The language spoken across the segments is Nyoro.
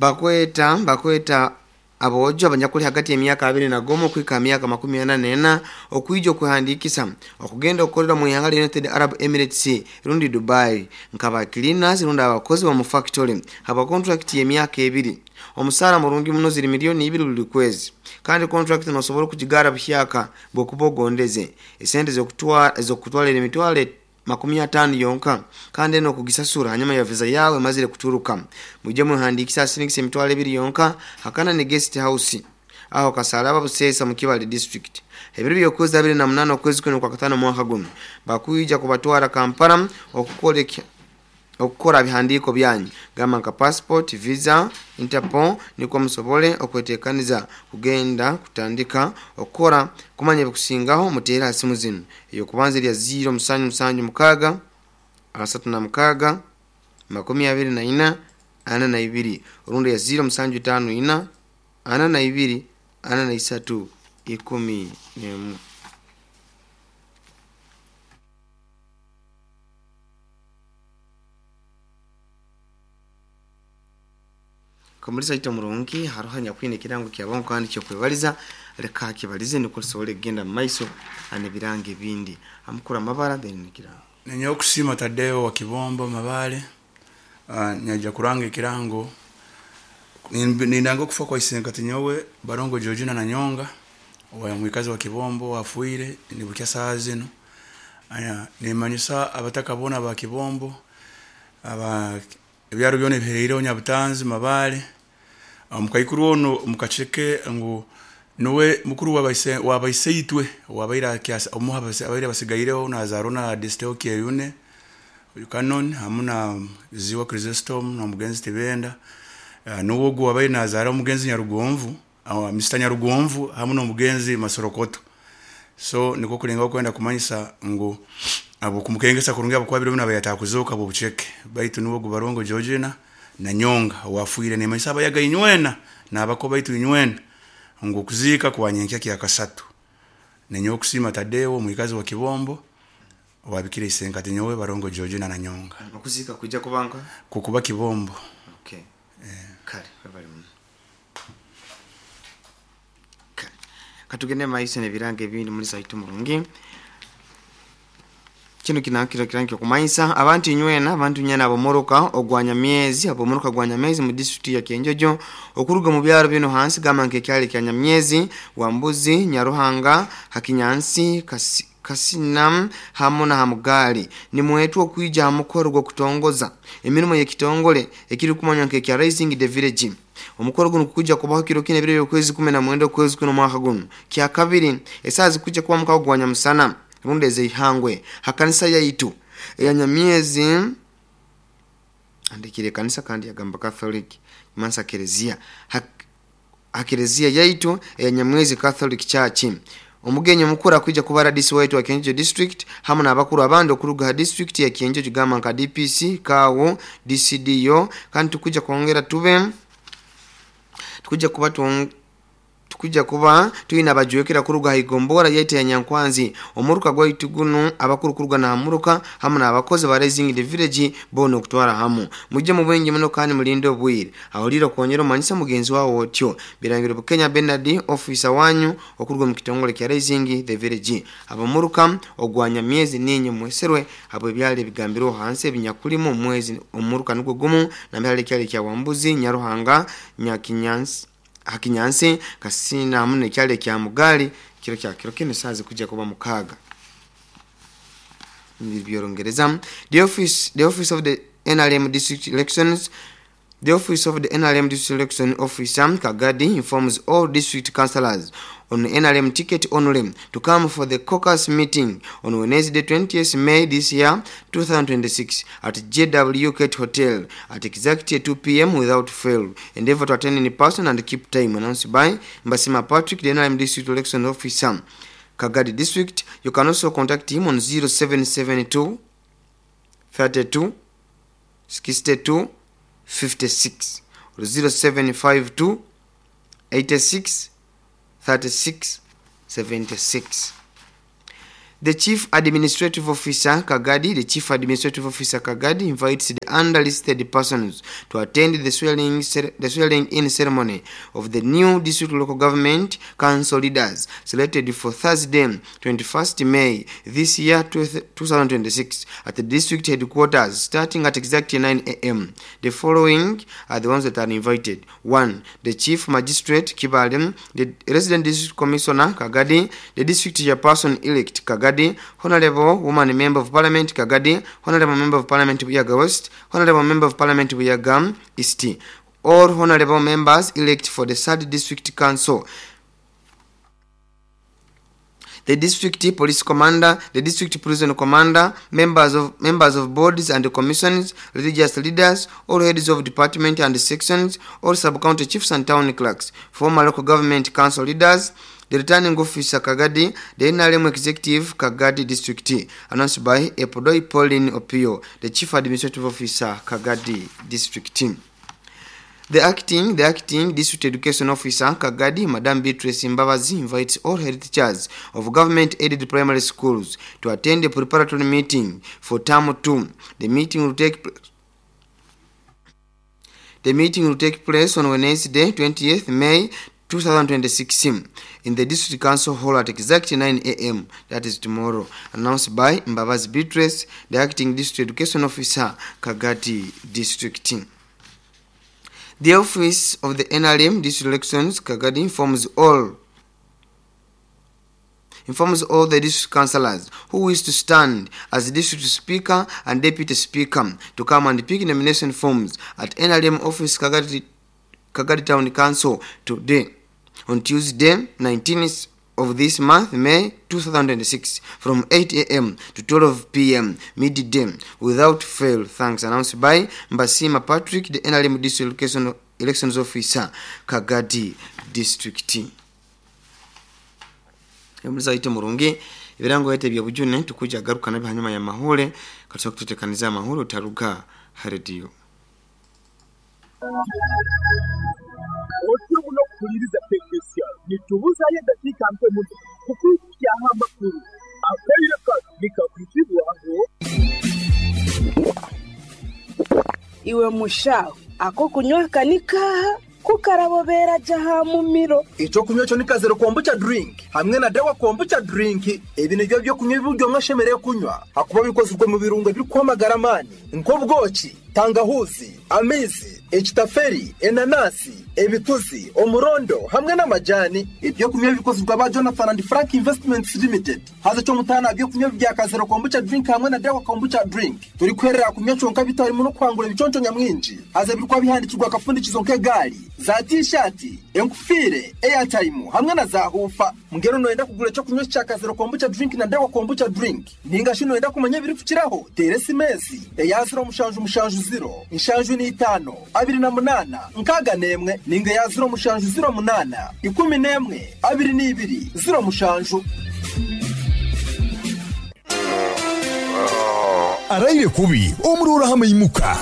Bakweta bakweta aboojo abanyakuli hagati y'emyaka 21 okuhika ha myaka 44 okwija okwehandiikisa okugenda okukorera mu ihanga lya United Arab Emirates rundi Dubai nkaba cleaners rundi abakozi b'omu factory haba contract y'emyaka 2. Omusaara murungi muno, ziri miliyoni 2 buli kwezi, kandi contract nosobora okugigara buhyaka bwokuba ogondeze. Esente ezokutwalira emitwaro 50 yonka, kandi eno okugisasura hanyuma ya visa yawe emazire kuturuka. Mwije mwehandiikise asiringisa emitwaro 2 yonka Hakanani Guest House aho Kasalaba Busesa mu Kibale District. Ebiro by'okwezi 28 okwezi kuno kwa katano mwaka guno bakwija kubatwara Kampala okukora bihandiiko byanyu gamba nka passport, visa, Interpol, nikwo musobole okwetekaniza kugenda kutandika okukora. Kumanya ebikusingaho muteere ha simu zinu: ey'okubanza erya 0 7 7 6 36 24 42, orundi ya 0 7 5 4 42 43 11. Kamulisa ito murungi, haroho anyakwine ekirango kyabongo kandi kyokwebaliza, leka akibalize nukwo tusobole kugenda mu maiso n'ebirango ebindi. Amukura amabara then n'ekirango. Ninyowe Kusiima Tadeo wa Kibombo Mabale, nyajja kuranga ekirango. Nindanga okufa kwa isenkati nyowe Barongo Georgina Nanyonga owa mwikazi wa Kibombo afiire nibukya saaha zinu. Nimanyisa abataka boona aba Kibombo, aba ebyaro byona ebiheriireho Nyabutanzi, Mabale, omukaikuru onu mukaceke ngu nuwe mukuru w'abaiseitwe owabaire omu abaire basigaireho nazaarwa na Desteo Kyeyune Canon hamu na Ziwa Chrysostom n'omugenzi Tibenda. Nuwe ogu owabaire nazaara omugenzi Nyarugonvu, Mr Nyarugonvu hamu n'omugenzi Masorokoto. So nikwo kulengaho kwenda kumanyisa ngu habw'okumukengesa kurungi habwokuba biro binu abaire atakuzooka habw'obuceke, baitu nuwe ogu Barongo Georgina Nanyonga owafiire. Nimanyisa abayaga inywena n'abako baitu inywena ngu okuziika kwa nyenkya kyakasatu. Ninyowe Kusiima Tadeo omwikazi wa Kibombo owabikire isenkati nyowe Barongo Georgina Nanyonga. Okuziika kwija kuba nka? Kukuba Kibombo. Okay. Kale, webale muno. Kale. Katugende maiso n'ebirango ebindi muri saitu murungi. Kino kinakiro kirango kyokumanyisa abantu inywena, abantu inywena ab'omuruka ogwa Nyamyezi, ab'omuruka gwa Nyamyezi mu disitulikiti ya Kyenjojo, okuruga omu byaro binu hansi gamba nk'ekyaro ekya Nyamyezi, Wambuzi, Nyaruhanga, Hakinyansi, Kasina hamu na Hamugaali. Nimwetwa okwija ha mukoro gw'okutongoza emirimo y'ekitongole ekirikumanywa nk'ekya Raising the Village. Omukoro gunu gukwija kubaho kiro kinu ebiro by'okwezi 19 okwezi kuno omwaka gunu kyakabiri, esaaha zikwija kuba mukago gwa nyamusana rundi ez'eihangwe ha kanisa yaitu eya Nyamyezi. Andikire ekanisa kandi yagamba Catholic mansa Kelezia, ha Kelezia yaitu eya Nyamwezi Catholic Church. Omugenyi omukuru akwija kuba RDC waitu wa Kyenjojo District hamu n'abakuru abandi okuruga ha district ya Kyenjojo gamba nka DPC, KAU, DCDO, kandi tukwija kwongera tube tukwija kuba tukwija kuba twine abajwekera kuruga ha igombora yaitu ya Nyankwanzi omuruka gwaitu gunu, abakuru kuruga na muruka hamu n'abakozi ba Raising the Village boona okutwara hamu. Mujje mu bwingi muno kandi mulinde obwire. Aholiire okwongera omanyisa mugenzi wawe otyo. Birangiro Bukenya Bernard, officer wanyu okuruga omu kitongole kya Raising the Village. Ab'omuruka ogwa Nyamyezi ninye mweserwe habw'ebyaro ebigambirweho hansi ebinyakulimu omwezi omuruka nugwo gumu nambere hali ekyaro ekya Wambuzi, Nyaruhanga, Nyakinyansi, Hakinyansi, Kasina hamu n'ekyaro ekya Mugaali. Kiro kya kiro kinu esaaha zikujja kuba 6. By'Orungereza. The office of the NRM District Elections. The Office of the NRM District Election Officer, Kagadi, informs all district councillors on NRM ticket only to come for the caucus meeting on Wednesday, 20th May this year, 2026, at JW Kate Hotel at exactly 2 p.m. without fail. Endeavor to attend in person and keep time. Announced by Mbasima Patrick, the NRM District Election Officer, Kagadi District. You can also contact him on 0772 32 62 56 or 0752 86 36 76. The Chief Administrative Officer Kagadi, the Chief Administrative Officer Kagadi invites the under listed persons to attend the swearing in ceremony of the new district local government council leaders selected for Thursday, 21st May this year, 2026, at the district headquarters starting at exactly 9 a.m. The following are the ones that are invited. 1. The Chief Magistrate Kibale, the Resident District Commissioner Kagadi, the District Chairperson Elect Kagadi, Honorable Woman Member of Parliament Kagadi, Honorable Member of Parliament Buyaga West, Honorable Member of Parliament Buyaga East, all honorable members elect for the third District Council, the District Police Commander, the District Prison Commander, members of boards and commissions, religious leaders, all heads of department and sections, all sub-county chiefs and town clerks, former local government council leaders, the returning officer Kagadi, the NRM executive Kagadi District, announced by Epodoi Pauline Opio, the Chief Administrative Officer Kagadi District. The acting District Education Officer Kagadi, Madam Beatrice Mbabazi, invites all head teachers of government-aided primary schools to attend a preparatory meeting for term 2. The meeting will take place on Wednesday, 20th May 2026 in the District Council Hall at exactly 9 a.m. That is tomorrow. Announced by Mbabazi Beatrice, the acting District Education Officer, Kagadi District. The Office of the NRM District Elections Kagadi informs all the district councillors who wish to stand as district speaker and deputy speaker to come and pick nomination forms at NRM office Kagadi Town Council today, on Tuesday, 19th of this month, May 2006, from 8 a.m. to 12 p.m. midday, without fail. Thanks. Announced by Mbasima Patrick, the NRM District Elections Officer, Kagadi District. Emuliza murungi ibirango yete bya bujune tukuja garuka nabi hanyuma ya mahule katika kututekaniza mahule utaruga radio. Otyo kuliriza teknisiya nitubuzayo dakika mpe muno kukwikyaho amakuru akaire kano nikakuzibwaho. Iwe mushaho ako kunywa kanikaha kukarabobera jaha mumiro. Ico kunywa cyo nikazero kombucha drink hamwe na dawa kombucha drink. Ebi nibyo byo kunywa ibiryo mwashemereye kunywa hakuba bikozwe mu birungo biri kwamagara mani nk'ubwoki, tangahuzi, amizi, ekitaferi, enanasi, ebituzi, omurondo hamwe n'amajani. Ibyo kunywa bikozwe ba Jonathan and Frank Investments Limited. Haza cyo mutana byo kunywa bya kazero kombucha drink hamwe na dawa kombucha drink. Turi kwerera kunywa cyonka bitarimo no kwangura ibiconco nyamwinji. Haza birikwa bihandikirwa akafundikizo nk'egali za t-shirt, enkufire, airtime hamwe na za hufa. Mugero noenda kugura cyo kunywa cya kazero kombucha drink na dawa kombucha drink. Ninga shino enda kumenya biri kukiraho. Teresi mezi eya 0 mushanju mushanju 0 inshanju ni 5 28 6 ninga ya 0 mushanju 0 8 11 22 0 mushanju. Araire kubi omurura hamwe imuka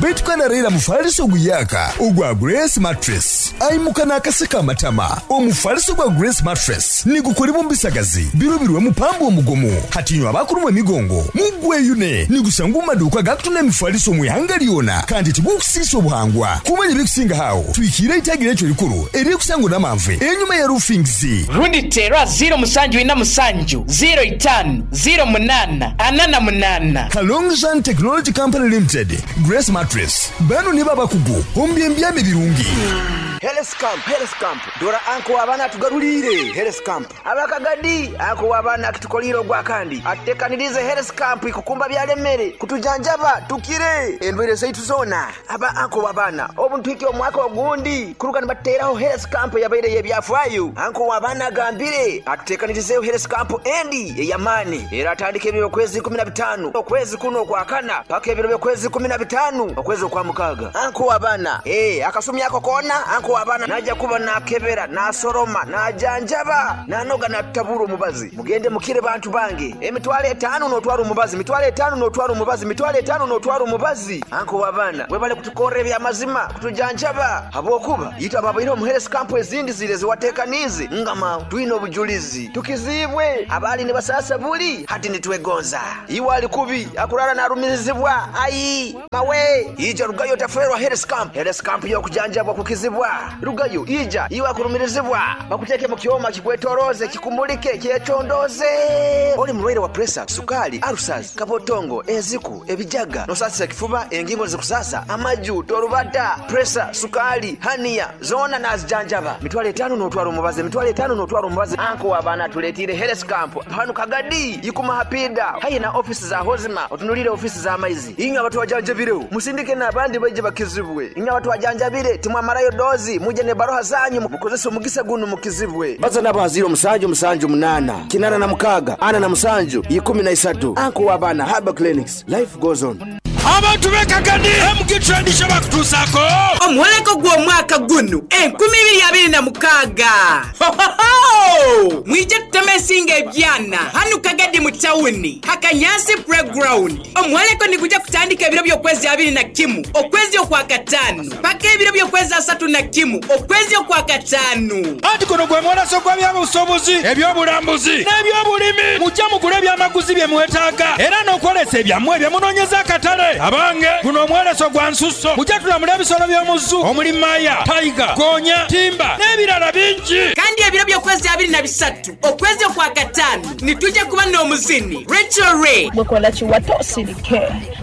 Betukana rera mufaliso guyaka ogwa Grace Mattress aimuka nakaseka matama omufaliso gwa Grace Mattress nigukolebwa mbisagazi birobirwe mupambo omugomo hatinywa abakulumwa emigongo mugweyune nigusanga maduka gakutuna emifaliso mwihanga lyona kandi tigukusisa obuhangwa kumanya ebikusinga hawo twikire itagira ekyo likuru erikusango n'amanve enyuma ya roofings rundi tera 0 musanju ina musanju 0 5 0 8 48. Kalongjan Technology Company Limited Grace Mattress bano ni babakugu ombyembyame birungi. Health Camp dora anko abana tugarulire Health Camp abakagadi anko abana kitukoliro gwa kandi atekanirize Health Camp ikukumba byalemere kutujanjaba tukire endwere zaitu zona aba anko abana obuntwiki omwaka ogundi kuruka nibateraho Health Camp yabaire yebyafwayo anko abana gambire atutekanirize Health Camp endi eyamani era atandike ebiro kwezi 15 okwezi kuno kwa kana paka ebiro kwezi 15 okwezi kwa mukaga anko abana akasumi yako kona anko Anko abaana najja kuba nakebera, nasoroma, najanjaba, nanoga natutabura omubazi. Mugende mukire bantu bange. 50,000 n'otwara omubazi, 50,000 n'otwara omubazi, 50,000 n'otwara omubazi. Anko w'abaana webale kutukorra ebyamazima, kutujanjaba. Habwokuba yitwa ababaire omu health camp ezindi zire ziwateekaniize ngama twine obujulizi. Tukizibwe abaali nibasasa buli hati nitwegonza. Iwe ali kubi akurara narumirizibwa ayi mawe ija rugayo taferwa health camp. Health camp y'okujanjabwa kukizibwa. Rugayo ija iwe akurumirizibwa bakuteke mu kyoma kikwetoroze kikumulike kyecondoze. Oli mulwaire wa pressure, sukali, ulcers, kabotongo, enziku, ebijaga, nosasisa kifuba, engingo zikusasa, amaju, torubata, pressure, sukali, hania zona nazijanjaba. 50,000 n'otwara omubazi, 50,000 n'otwara omubazi. Anko w'abaana tuletire health camp hano Kagadi yikuma hapida hayi na ofisi za hozima otunulire ofisi za maizi. Inywe abantu wajanjabireho musindike n'abandi baije bakizibwe. Inywe abantu wajanjabire timwamarayo dozi muje ne baroha zanyu mukozese omugisa guno mukizibwe. Baza nabo 0 7 7 8 86 47 13. Anko w'abaana Herbal Clinics, life goes on. Abantu b'Ekagadi MG Tradition bakutuusako omwoleko gw'omwaka guno 2026. Hohoho! Mwije tuteme ensinga ebyana hanu Kagadi mu tawuni Hakanyasi playground. Omwoleko nigujja kutandika ebiro by'okwezi 21 okwezi okwa 5 paka ebiro by'okwezi 31 okwezi okwa 5. Anti guno gwe mwolaso gw'ebyobusuubuzi, ebyobulambuzi n'ebyobulimi. Mujje mugule ebyamaguzi bye mwetaaga era n'okwolesa ebyammwe bye munoonyeza akatale. Abange guno omwoleso gwa nsusso. Mujje tulamule ebisolo by'omuzu omuli maya, tiger, gonya, timba n'ebirala bingi. Kandi ebiro by'okwezi 23 okwezi okwa 5 nitujja kuba n'omuzini Rachel Ray. Gwe kiwato osirike,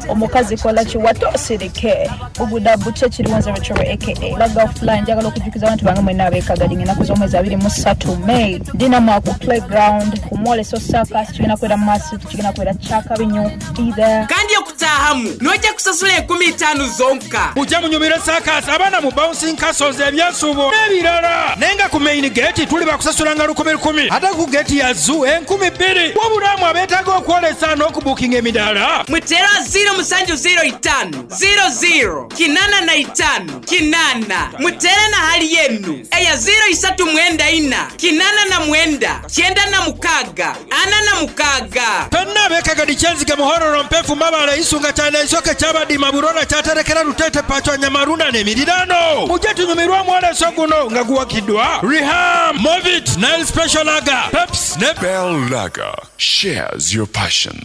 omukazi kola kiwato osirike. Buguda buche kiriwanza Rachel Ray aka Laga Fly. Njagala okujjukiza abantu bange mwenna ab'Ekagadi ennaku z'omwezi 23 May ndina ku playground ku mwoleso circus kigenda kubeera massive, kigenda kubeera kyakabi nnyo. Be there. Kandi okutaahamu nojja kusasula 50,000 zonka. Mujje munyumire circus, abaana mu bouncing castles, ebyensubo n'ebirala. Naye nga ku main gate tuli bakusasulanga 1,000 ate ku gate ya zoo 2,000. Wabulamu abeetaaga okwolesa n'okubuukinga emidaala. Mutera 0705 00 85 8. Mutere na hali yenu eya 0394 89 96 46. Fenna ab'Ekagadi Kyenzige, Muhororo, Mpefu, Mabale, Isunga, Kyana, Isoke, Kyabadima, Burora, Kyaterekera, Lutete, Pachwa, Nyamarunda n'emirirano. Mujje tunyumirwe omwoleso guno nga guwakiddwa Reham, Movit, Nile Special Lager, Peps ne Bell Lager shares your passion.